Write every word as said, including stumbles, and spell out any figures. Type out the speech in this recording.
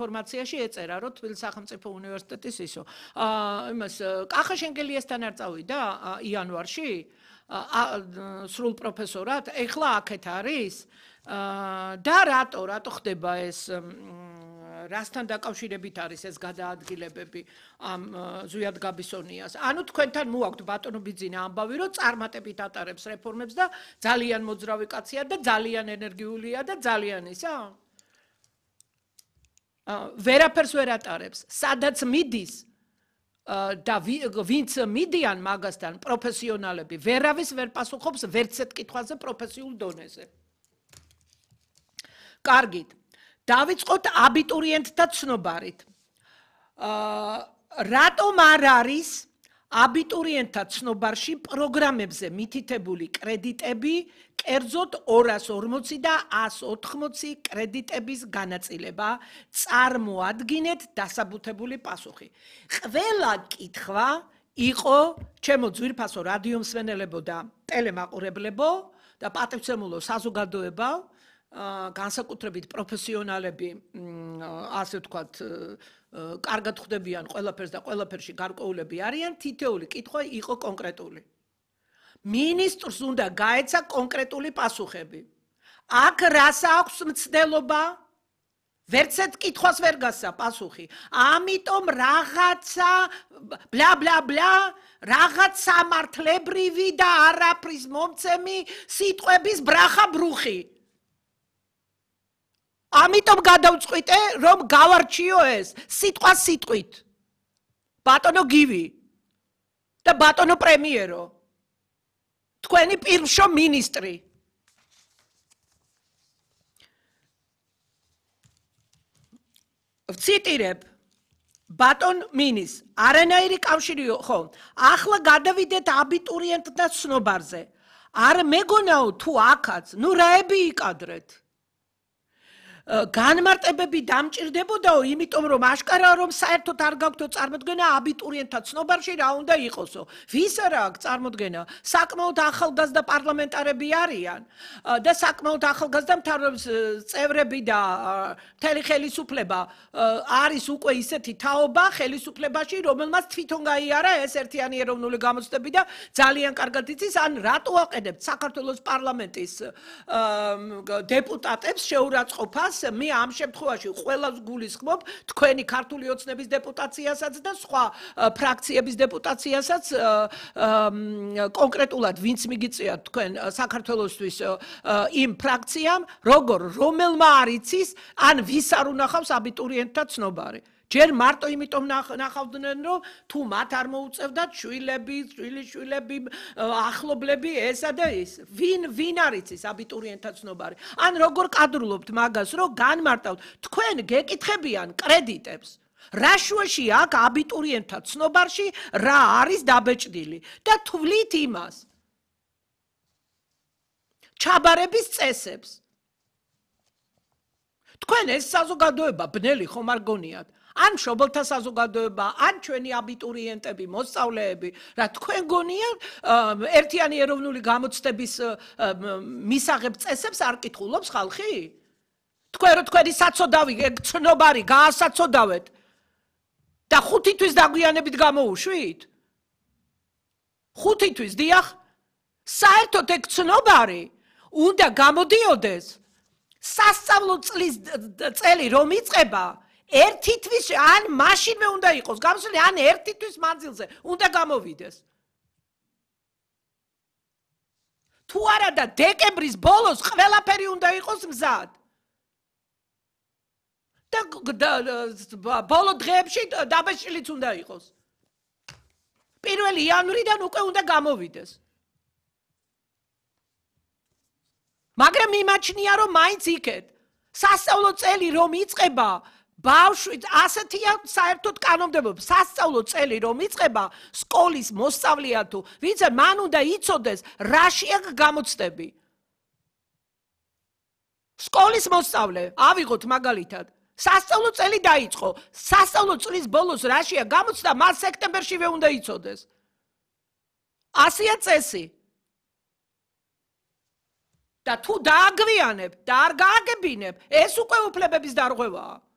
ინფორმაციაში ეწერა, რომ თბილისის სახელმწიფო უნივერსიტეტის ისო. აა იმას კახა შენგელიასთან არ წავიდა იანვარში სრულ პროფესორად, ეხლა აქეთ არის და რატო, რატო ხდება ეს რასთან დაკავშირებით არის ეს გადაადგილებები ამ ზვიად გაბისონიას. ანუ თქვენთან მოაქვთ ბატონო ბიძინა ამბავი, რომ წარმატებით ატარებს რეფორმებს და ძალიან მოძრავი კაცია და ძალიან ენერგიულია და ძალიან ისა? ვერაფერს ვერ ატარებს. სადაც მიდის და ვინც მიდიან მაგასთან პროფესიონალები, ვერავის ვერ პასუხობს ვერც ერთ კითხვაზე პროფესიულ დონეზე. კარგით. დავიწყოთ აბიტურიენტთა ცნობარით. რატომ არ არის აბიტურიენტთა ცნობარში პროგრამებზე მითითებული კრედიტები, კერძოდ ორას ორმოცი და ას ოთხმოცი კრედიტების განაწილება, წარმოადგინეთ დასაბუთებული პასუხი. ყველა კითხვა იყო ჩემო ძვირფასო რადიომსმენელებო და ტელემაყურებლებო და პატივცემულო საზოგადოებო, განსაკუთრებით პროფესიონალები, ასე ვთქვათ, კარგად ხვდებიან ყველაფერს და ყველაფერში გარკვეულები არიან, თითოეული კითხვა იყო კონკრეტული. მინისტრს უნდა გაეცა კონკრეტული პასუხები. აქ რას აქვს მცდელობა? ვერც ერთ კითხვას ვერ გასცა პასუხი. ამიტომ რაღაცა ბლა ბლა ბლა, რაღაც სამართლებრივი და არაფრის მომცემი სიტყვების ბრახა ბრუხი. ამიტომ გადავწყვიტე, რომ გავარჩიო ეს სიტყვა სიტყვით. ბატონო გივი და ბატონო პრემიერო. თქვენი პირმშო მინისტრი. ვციტირებ ბატონ მინის, არანაირი კავშირი ხო, ახლა გადავიდეთ აბიტურიენტთა ცნობარზე. არ მეგონაო თუ აქაც, ნუ რაები იკადრეთ. განმარტებები დამჭირდებოდაო, იმიტომ რომ აშკარაა რომ საერთოდ არ გაქვთო წარმოდგენა აბიტურიენტთა ცნობარში რა უნდა იყოსო. ვის არა აქვს წარმოდგენა? საკმაოდ ახალგაზრდა პარლამენტარები არიან და საკმაოდ ახალგაზრდა მთავრობის წევრები და მთელი ხელისუფლება არის უკვე ისეთი თაობა ხელისუფლებაში, რომელმაც თვითონ გაიარა ეს ერთიანი ეროვნული გამოცდები და ძალიან კარგად იცის, ან რატო აყენებთ საქართველოს პარლამენტის დეპუტატებს შეურაცხყოფას მე ამ შემთხვევაში ყველას გულისხმობ თქვენი ქართული ოცნების დეპუტაციასაც და სხვა ფრაქციების დეპუტაციასაც კონკრეტულად ვინც მიგიწიათ თქვენ საქართველოსთვის იმ ფრაქციამ როგორ რომელმა არ იცის ან ვის არ უნახავს აბიტურიენტთა ცნობარი. ჯერ მარტო იმიტომ ნახავდნენ რომ თუ მათ არ მოუწევდათ შვილები, შვილიშვილები, ახლობლები ესა და ის. ვინ ვინ არის ის აბიტურიენტთა ცნობარი? ან როგორ კადრულობთ მაგას, რომ განმარტავთ თქვენ გეკითხებიან კრედიტებს. რა შუაში აქ აბიტურიენტთა ცნობარში რა არის დაბეჭდილი და თვლით იმას. ჩაბარების წესებს. თქვენ ეს საზოგადოება ბნელი ხომ არ გონიათ? ან მშობელთა საზოგადოება, ან ჩვენი აბიტურიენტები, მოსწავლეები, რა თქვენ გონიათ ერთიანი ეროვნული გამოცდების მისაღებ წესებს არ კითხულობს ხალხი? თქვენ რო თქვენი საწოდავი, ცნობარი გაასაწოდავეთ და ხუთი თვის დაგვიანებით გამოუშვით? ხუთი თვის, დიახ, საერთოდ ეგ ცნობარი უნდა გამოდიოდეს სასწავლო წლის წელი რომ იწყება ერთი თვის ან მაშინვე უნდა იყოს გამოსული ან ერთი თვის მანძილზე უნდა გამოვიდეს. თუ არა და დეკემბრის ბოლოს ყველაფერი უნდა იყოს მზად. და ბოლო დღეებში დაბეჭდილიც უნდა იყოს. პირველი იანვრიდან უკვე უნდა გამოვიდეს. მაგრამ იმაჩნია რომ მაინც იქეთ სასწავლო წელი რომ იწყება ბავშვი ასეთია საერთოდ კანონმდებლობა სასწავლო წელი რომ იწყება სკოლის მოსწავლეა თუ ვინც მან უნდა იცოდეს რაშია გამოცდები. სკოლის მოსწავლე ავიღოთ მაგალითად სასწავლო წელი დაიწყო სასწავლო წლის ბოლოს რაშია გამოცდა მას სექტემბერშივე უნდა იცოდეს. ასია წესი. და თუ დააგვიანებ და არ გააგებინებ ეს უკვე უფლებების დარღვევაა.